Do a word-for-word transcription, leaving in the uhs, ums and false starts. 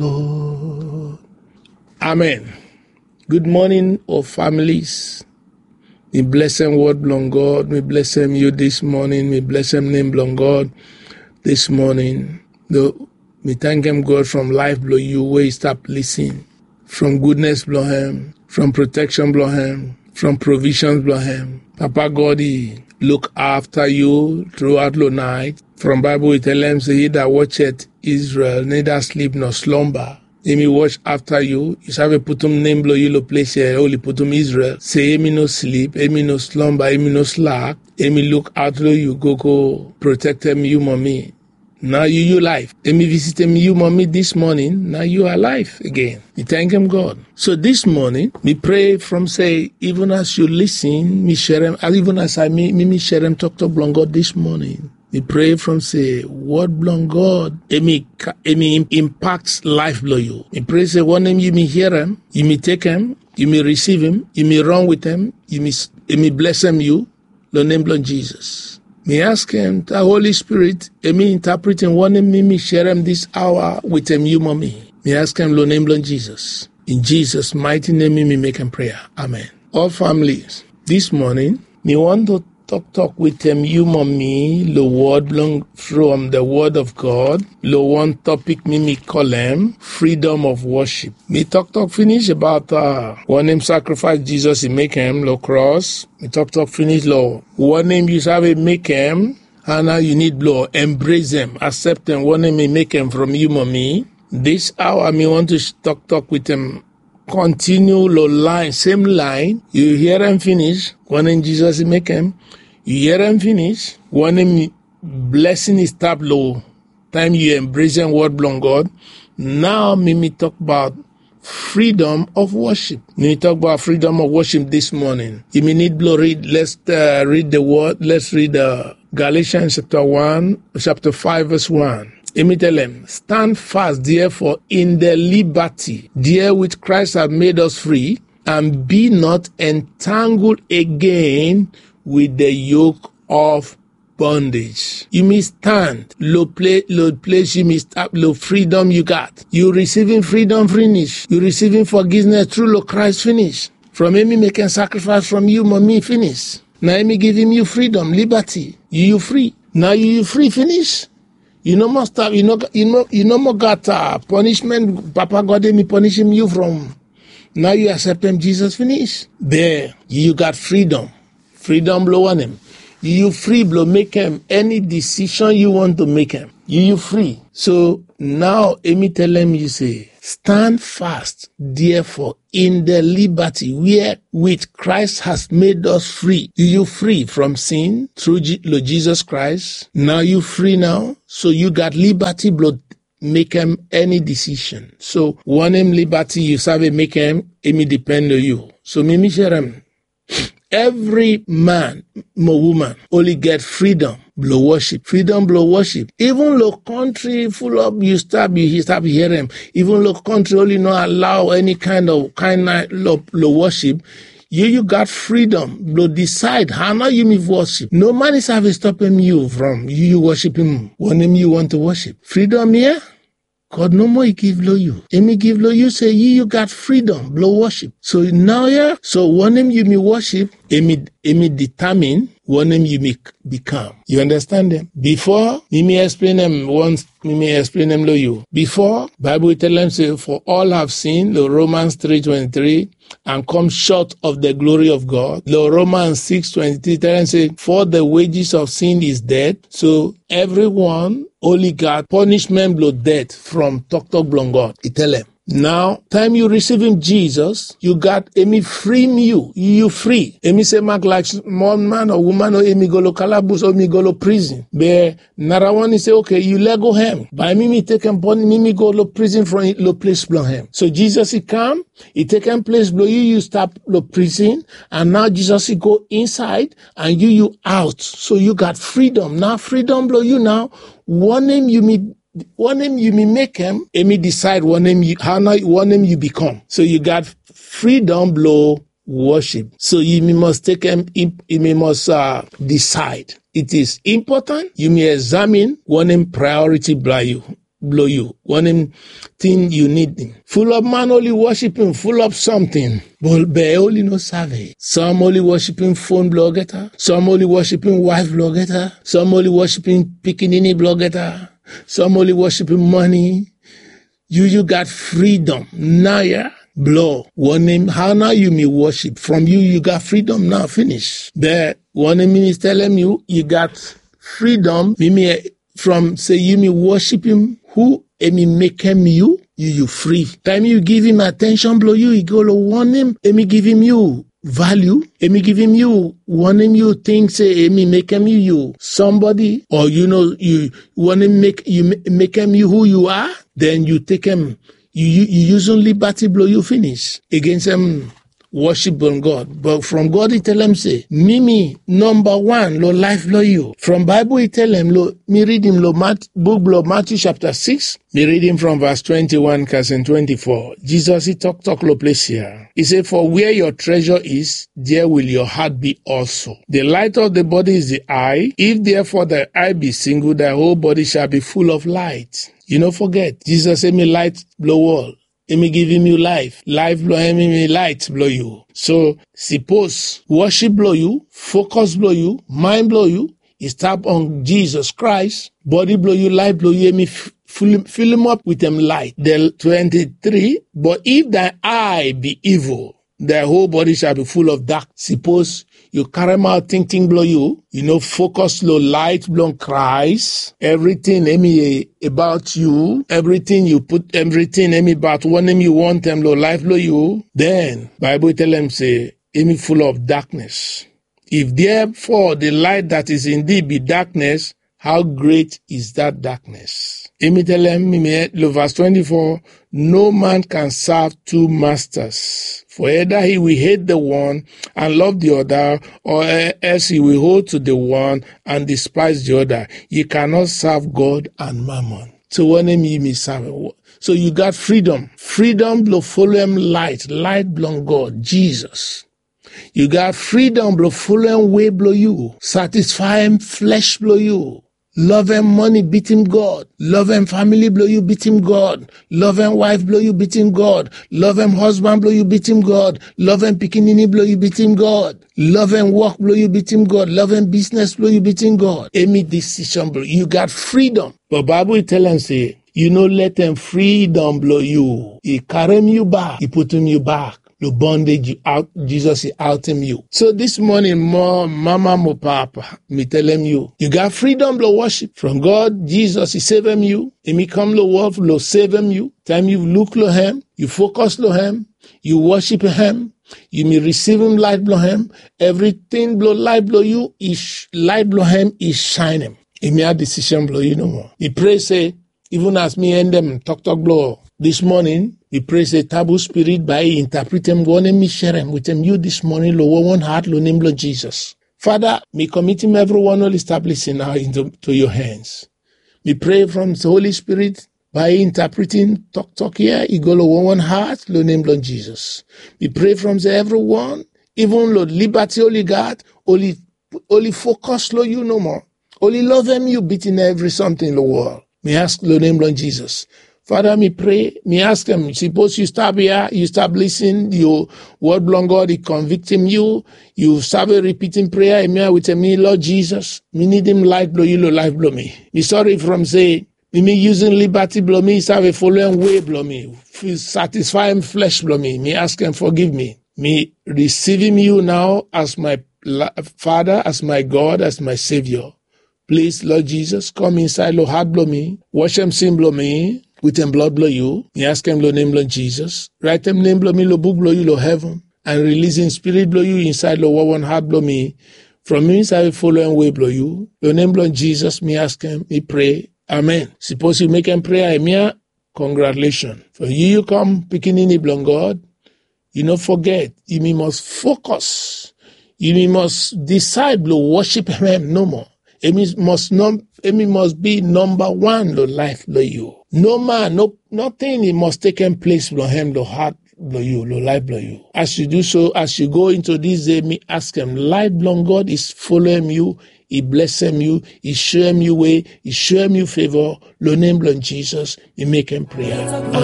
Lord. Amen. Good morning, all families. Mi blesem word blong God. Mi blesem you this morning. Mi blesem name blong God this morning. No, mi thank him God from life blong you wey stop listen. From goodness blong him, from protection blong him, from provisions blong him. Papa God, he look after you throughout the night. From Bible, he tell him, say, he that watcheth Israel neither sleep nor slumber. Emi watch after you. You sabi putum name blong you lo place here, only putum Israel. Say, emi no sleep, emi no slumber, emi no slack. Emi look out lo you, go, go protect him, you, mommy. Now you, you life. Emi visit him, you, mommy, this morning. Now you alive again. You thank him, God. So this morning, mi pray from say, even as you listen, mi share him, even as I, mi, mi, mi share him, talk, talk, blong God this morning. Mi pray from say, word blong God, emi, emi im-, impact life blong you. Mi pray say, one name you mi hear him, you mi take him, you mi receive him, you mi run with him, you mi, s-, emi bless him you, lo name blong Jesus. Mi ask him, the Holy Spirit, emi interpreting one name mi, mi share him this hour with him, you, mommy. Mi ask him, lo name blong Jesus. In Jesus' mighty name, mi, mi make him prayer. Amen. All families, this morning, mi want to talk, talk with him, you, mommy, lo word blong from the word of God, lo one topic mi, mi call him freedom of worship. Mi talk, talk finish about, uh, one name sacrifice Jesus he make him lo cross. Mi talk, talk finish lo one name you sabi make him, and now you need blong embrace him, accept him, one name he make him from you, mommy. This hour, mi want to sh-, talk, talk with him. Continue lo line, same line. You hear him finish, one name Jesus he make him. You hear him finish, one name blessing is tap lo time you embrace him word blong God. Now, mi, mi talk about freedom of worship. Mi talk about freedom of worship this morning. If you need blong read, let's, uh, read the word. Let's read, uh, Galatians chapter one, chapter five, verse one. Emi tell him, stand fast, therefore, in the liberty therewith Christ hath made us free, and be not entangled again with the yoke of bondage. You mi stand lo pla-, lo place you mi stop, lo freedom you got. You receiving freedom finish. You receiving forgiveness through lo Christ finish. From emi make him sacrifice from you, mommy, finish. Now emi give him you freedom, liberty. You, you free. Now you, you free finish. You no more stop. You no, you no, you no more got, uh, punishment. Papa God emi punish him you from. Now you accept him Jesus finish. There, you got freedom. Freedom blong one name. You free blong make him any decision you want to make him. You, you free. So now, emi tell him, you say, stand fast, therefore, in the liberty wherewith Christ has made us free. You, you free from sin through Je-, Lord Jesus Christ. Now you free now. So you got liberty blong make him any decision. So one name liberty you sabi make him, emi depend on you. So mi, mi share him. Every man mo woman only get freedom blong worship. Freedom blong worship. Even lo country full of you stop, you stop hear him. Even lo country only no allow any kind of kind of lo, lo worship. You, you got freedom blong decide how now you mi worship. No man is have stopping you from you, you worship him. One name you want to worship. Freedom here. God no more he give lo you. Emi give lo you say you, you got freedom blong worship. So now, yeah, so one name you mi worship, emi, emi determine one name you mi become. You understand them? Before, mi, mi explain them once, mi, mi explain them lo you. Before, Bible tell them say, for all have sinned, lo Romans three twenty-three, and come short of the glory of God. Lo Romans six twenty-three tell him say, for the wages of sin is death. So everyone only got punishment blong death from talk talk blong God. He tell him. Now, time you receive him Jesus, you got emi free you, you free. Emi say mark like small man or woman or emi go lo kalabus or emi go lo prison. But Nara one, he say, okay, you let go him. By mi, mi take him pon, mi, mi go lo prison from lo place blong him. So Jesus, he come, he take him place blong you, you stop lo prison, and now Jesus, he go inside, and you, you out. So you got freedom. Now freedom blong you now. One name you mi, one name you mi make him, emi decide one name you, how now one name you become. So you got freedom blong worship. So you mi must take him, you mi must, uh, decide. It is important. You mi examine one name priority blong you. blong yu, wanem tin yu nidim. Fulap man oli wosipim fulap samting, be oli no save. Sam oli wosipim fon blong olgeta, sam oli wosipim waef blong olgeta, sam oli wosipim pikinini blong olgeta, sam oli wosipim mane. Yu yu gat fridom nao ya blong wanem, hao nao yumi wosip from yu yu gat fridom nao finis. Be wanem mi mi telem yu, yu gat fridom mi mi from se yumi wosipim hu emi mekem yu, yu yu fri. Taem yu givim atenshon blong yu i go long wanem emi givim yu valiu, emi givim yu wanem yu ting se emi mekem yu yu sambodi o yu no yu wanem mek yu mekem yu hu yu a, den yu tekem yu yuzum libati blong yu finis agensem wosip blong God. Be from God i telem se mi mi nomba wan long laef blong yu. From baebol i telem long mi ridim long buk blong Matiu sapta sikis, mi ridim from vas twenti wan kasem twenti fo. Jizas i toktok long ples ya, i se for wia yo treasure is, there will your heart be also. The light of the body is the eye. If therefore thy eye be single, thy whole body shall be full of light. Yu no foget jizas emi light blong wol, emi givim yu laef, laef blong hem emi light blong yu. So sipos wosip blong yu, fokus blong yu, maen blong yu i stap on jizas kraes, bodi blong yu, laef blong yu emi filimap wetem laet. Twenti tri. But if thy eye be evil, thy whole body shall be full of dark. Sipos yu karemaot tingting blong yu, yu no fokus long laet blong kraes, evriting emi abaot yu, evriting yu put evriting emi abaot wanem yu wantem long laef blong yu, den baebol i telem se emi full of daknes. If therefore the light that is in thee be darkness, how great is that darkness? Emi telem mi mi lo vas twenti fo. No man can serve two masters, for either he will hate the one and love the other, or else he will hold to the one and despise the other. You cannot serve God and mammon. So wanem yu mi serve? So yu gat fridom, fridom blong folem laet, laet blong God, jizas. Yu gat fridom blong folem wei blong yu, satisfaem flesh blong yu, lovem mane bitim God, lovem famili blong yu bitim God, lovem waef blong yu bitim God, lovem hosban blong yu bitim God, lovem pikinini blong yu bitim God, lovem wok blong yu bitim God, lovem bisnes blong yu bitim God. Emi disisen blong yu gat fridom. But baebol i telem se yu no letem fridom blong yu i karem yu bak, i putum yu bak long bondage. Yu aot, jizas i aotem yu. So dis moning, mo mama mo papa, mi telem yu, yu gat fridom blong wosip from God. Jizas i sevem yu. Emi kam long wol blong sevem yu. Taem yu luk long hem, yu fokus long hem, yu wosip hem, yu mi risivim laet blong hem, evriting blong laet blong yu, laet blong hem i saenem. Emi a disisen blong yu nomo. Mi pre se, ivun as mi endem toktok blong dis moning, mi pre se tabu spirit bae i intapritem wanem mi serem wetem yu dis moning long wonwon hat long nem blong jizas. Fada, mi komitim evriwan oli stap lisin nao into yo hens. Mi pre from holi spirit bae i intapritim toktok ya i go long wonwon hat long nem blong jizas. Mi pre from se evriwan, ivun long libati oli gat, oli oli fokus long yu nomo. Oli lovem yu bitim evri samting long wol. Mi ask long nem blong jizas. Fada, mi pre, mi askem, sipos yu stap ya, yu stap lisin, yu wod blong God i konviktim yu, yu save ripitim prea hemia wetem mi, Lord jizas, mi nidim laet blong yu long laef blong mi. Mi sori from se mi mi yusum libati blong mi save folem wei blong mi, satisfaem flesh blong mi. Mi askem fogiv mi. Mi risivim yu nao as my Fada, as my God, as my Sevio. Plis, Lord Jisas, kam insaed long hat blong mi, wasem sin blong mi wetem blod blong yu. Mi askem long nem blong Jisas. Raetem nem blong mi long buk blong yu long heven, and rilisim Spirit blong yu insaed long wonwan hat blong mi, from mi save folem wei blong yu. Long nem blong Jisas mi askem, mi prea. Amen. Sipos yu mekem prea hemia, kongratulesen. From yu yu kam pikinini blong God, yu no foget, yumi mos fokus. Yumi mos disaed blong wosip hem nomo. Hemi mos bi nomba wan long laef blong yu. No man, no nating i mos tekem ples blong hem long hat blong yu, long laef blong yu. As yu du so, as yu go into dis dei, mi askem laet blong God i folem yu i blesem yu, i shoem yu wei, i shoem yu feva. Long nem blong Jisas mi mekem prea.